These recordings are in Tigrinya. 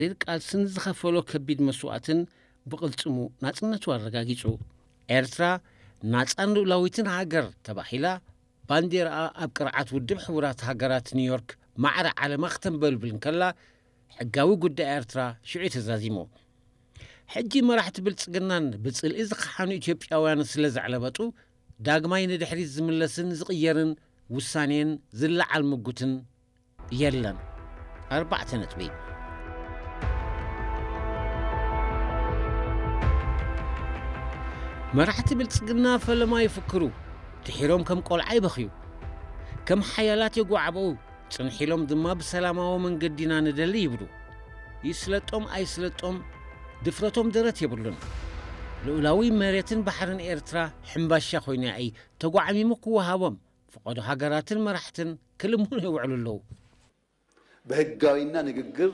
መሪር ቃልስን ዝኸፈሎ ከቢድ መስዋእትን ብቕልጽሙ ናጽነቱ ኣረጋጊጹ። ኤርትራ ናጻን ልኡላዊትን ሃገር ተባሂላ፣ ባንዴራኣ ኣብ ቅርዓት ውድብ ሕቡራት ሃገራት ኒውዮርክ ማዕረ ዓለማ ክተንበልብል እንከላ፣ ሕጋዊ ጉዳይ ኤርትራ ሽዑ ተዛዚሙ። ሕጂ መራሕቲ ብልጽግናን ብጽልኢ ዝኸሓኑ ኢትዮጵያውያን ስለ ዘዕለበጡ፣ ዳግማይ ንድሕሪት ዝምለስን ዝቕየርን ውሳኔን ዝለዓል ምጉትን የለን። ኣርባዕተ ነጥቢ። መራሕቲ ብልጽግና ፈለማ ይፍክሩ፣ ድሒሮም ከም ቆልዓ ይበኽዩ። ከም ሓያላት የጓዕበኡ፣ ጽንሕ ኢሎም ድማ ብሰላማዊ መንገዲ ኢና ንደሊ ይብሉ። ይስለጦም ኣይስለጦም፣ ድፍረቶም ደረት የብሉን። ልኡላዊ መሬትን ባሕርን ኤርትራ ሕምባሻ ኮይኑ'ያ ተጓዕሚሙ ክወሃቦም፣ ፈቐዶ ሃገራትን መራሕትን ክልምኑ ይውዕሉ ኣለዉ። በህጋዊና ንግግር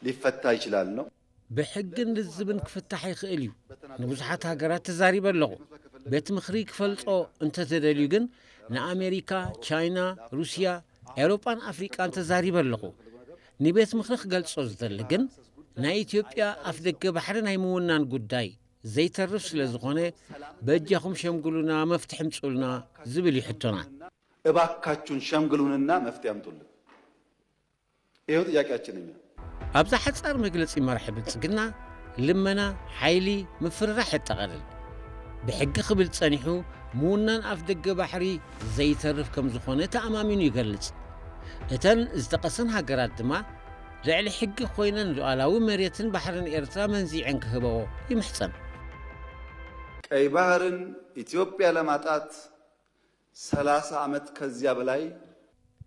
ሊፈታ ይችላል ነው። ብሕግን ልዝብን ክፍታሕ ይኽእል እዩ። ንብዙሓት ሃገራት ተዛሪበ ኣለኹ። ቤት ምኽሪ ክፈልጦ እንተተደልዩ ግን ንኣሜሪካ፣ ቻይና፣ ሩስያ፣ ኤውሮጳን ኣፍሪቃን ተዛሪበ ኣለኹ። ንቤት ምኽሪ ክገልጾ ዝደሊ ግን ናይ ኢትዮጵያ ኣፍደገ ባሕሪ ናይ ምውናን ጉዳይ ዘይተርፍ ስለ ዝኾነ በጃኹም ሸምግሉና መፍትሒ ምጽኡልና ዝብል እዩ ሕቶና። እባካችሁን ሸምግሉንና መፍትሄ አምጡልን። ይኸው ጥያቄያችን እኛ። ኣብዛ ሓጻር መግለጺ መራሒ ብልጽግና፣ ልመና፣ ሓይሊ፣ ምፍርራሕ የጠቓልል። ብሕጊ ክብል ጸኒሑ፣ ምውናን ኣፍ ደገ ባሕሪ ዘይተርፍ ከም ዝኾነ ተኣማሚኑ ይገልጽ። እተን ዝጠቐሰን ሃገራት ድማ፣ ልዕሊ ሕጊ ኮይነን ሉዓላዊ መሬትን ባሕርን ኤርትራ መንዚዐን ክህበኦ ይምሕጸን። ቀይ ባህርን ኢትዮጵያ ለማጣት ሰላሳ ዓመት ከዚያ በላይ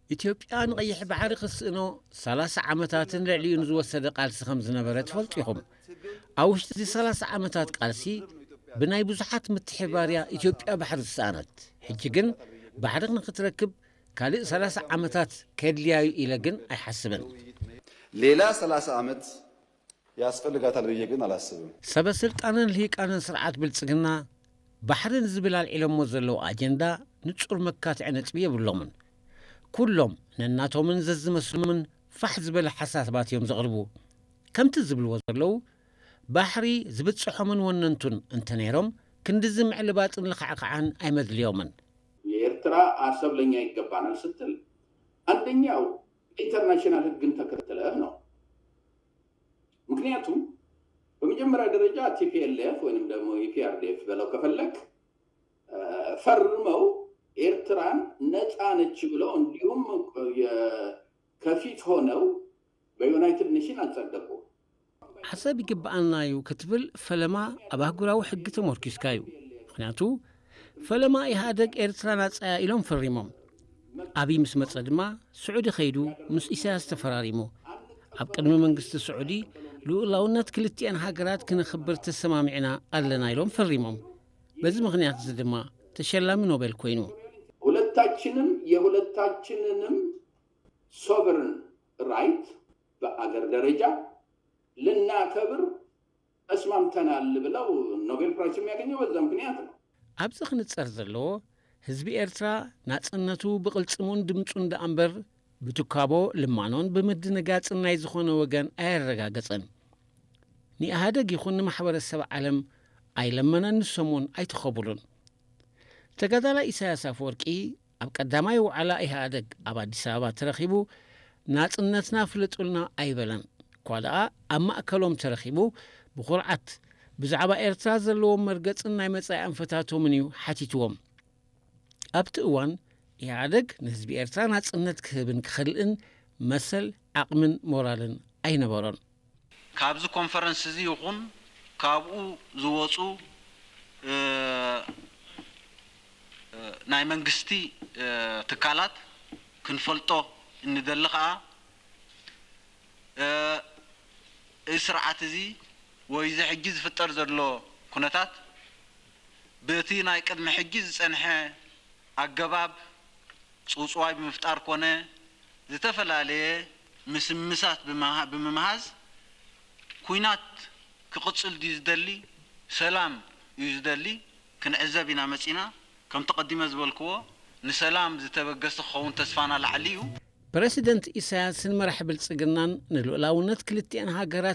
ኢትዮጵያ ንቐይሕ ባሕሪ ክትስእኖ ሰላሳ ዓመታትን ልዕሊኡን ዝወሰደ ቃልሲ ከም ዝነበረ ትፈልጡ ኢኹም። ኣብ ውሽጢ እዚ ሰላሳ ዓመታት ቃልሲ ብናይ ብዙሓት ምትሕባርያ ኢትዮጵያ ባሕሪ ዝሰኣነት። ሕጂ ግን ባሕሪ ንክትረክብ ካልእ ሰላሳ ዓመታት ከድልያ እዩ ኢለ ግን ኣይሓስብን። ሌላ ሰላሳ ዓመት ያስፈልጋታል ብዬ ግን አላስብም። ሰበ ስልጣንን ልሂቃንን ስርዓት ብልጽግና ባሕሪ ንዝብል ኣልዒሎሞ ዘለዉ ኣጀንዳ ንጹር መካትዒ ነጥቢ የብሎምን። ኩሎም ነናቶምን ዘዝመስሎምን ፋሕ ዝበለ ሓሳባት እዮም ዘቕርቡ። ከምቲ ዝብልዎ ዘለዉ፣ ባሕሪ ዝብጽሖምን ወነንቱን እንተነይሮም ክንድዚ ምዕልባጥን ልኽዕኽዓን ኣይመድልዮምን። የኤርትራ አሰብ ለኛ ይገባናል ስትል አንደኛው ኢንተርናሽናል ህግን ተከትለ ነው። ምክንያቱም በመጀመሪያ ደረጃ ቲ ፒ ኤል ኤፍ ወይንም ደግሞ ኢ ፒ አር ዲ ኤፍ በለው ከፈለክ ፈርመው ኤርትራን ነፃ ነች ብለው እንዲሁም ከፊት ሆነው በ ዩናይትድ ኔሽን አጸደቁ። ዓሰብ ይግብኣና እዩ ክትብል ፈለማ ኣብ ኣህጉራዊ ሕጊ ተመርኪስካ እዩ። ምኽንያቱ ፈለማ ኢህኣደግ ኤርትራ ናጻ እያ ኢሎም ፈሪሞም። ኣብይ ምስ መጸ ድማ ስዑዲ ከይዱ ምስ ኢሳያስ ተፈራሪሙ። ኣብ ቅድሚ መንግስቲ ስዑዲ ልኡላውነት ክልቲኤን ሃገራት ክነኽብር ተሰማሚዕና ኣለና ኢሎም ፈሪሞም። በዚ ምኽንያት እዚ ድማ ተሸላሚ ኖቤል ኮይኑ። ሁለታችንም የሁለታችንንም sovereign right በአገር ደረጃ ልናከብር ተስማምተናል ብለው ኖቤል ፕራይስ የሚያገኘው በዛ ምክንያት ነው። ኣብዚ ክንጸር ዘለዎ ህዝቢ ኤርትራ ናጽነቱ ብቕልጽሙን ድምጹን ደኣ እምበር ብትካቦ ልማኖን ብምድንጋጽን ናይ ዝኾነ ወገን ኣየረጋገጸን። ንኢህኣደግ ይኹን ንማሕበረሰብ ዓለም ኣይለመነን ንሶምውን ኣይተኸቡሉን። ተጋዳላይ ኢሳያስ ኣፈወርቂ ኣብ ቀዳማይ ዋዕላ ኢህኣደግ ኣብ ኣዲስ ኣበባ ተረኺቡ ናጽነትና ፍለጡልና ኣይበለን። እኳ ደኣ ኣብ ማእከሎም ተረኺቡ ብኹርዓት ብዛዕባ ኤርትራ ዘለዎም መርገጽን ናይ መጻኢ ኣንፈታቶምን እዩ ሓቲትዎም። ኣብቲ እዋን ኢህኣደግ ንህዝቢ ኤርትራ ናጽነት ክህብን ክኸልእን መሰል፣ ዓቕምን ሞራልን ኣይነበሮን። ካብዚ ኮንፈረንስ እዚ ይኹን ካብኡ ዝወፁ ናይ መንግስቲ ትካላት ክንፈልጦ እንደሊ ከዓ እዚ ስርዓት እዚ ወይ እዚ ሕጂ ዝፍጠር ዘሎ ኩነታት በቲ ናይ ቅድሚ ሕጂ ዝፀንሐ ኣገባብ ፅውፅዋይ ብምፍጣር ኮነ ዝተፈላለየ ምስምሳት ብምምሃዝ ኩናት ክቕፅል ድዩ ዝደሊ ሰላም እዩ ዝደሊ ክንዕዘብ ኢና መፂና። ከምቲ ቀዲመ ዝበልክዎ ንሰላም ዝተበገሰ ክኸውን ተስፋና ላዕሊ እዩ። ፕረሲደንት ኢሳያስን መራሒ ብልጽግናን ንልኡላውነት ክልቲኣን ሃገራት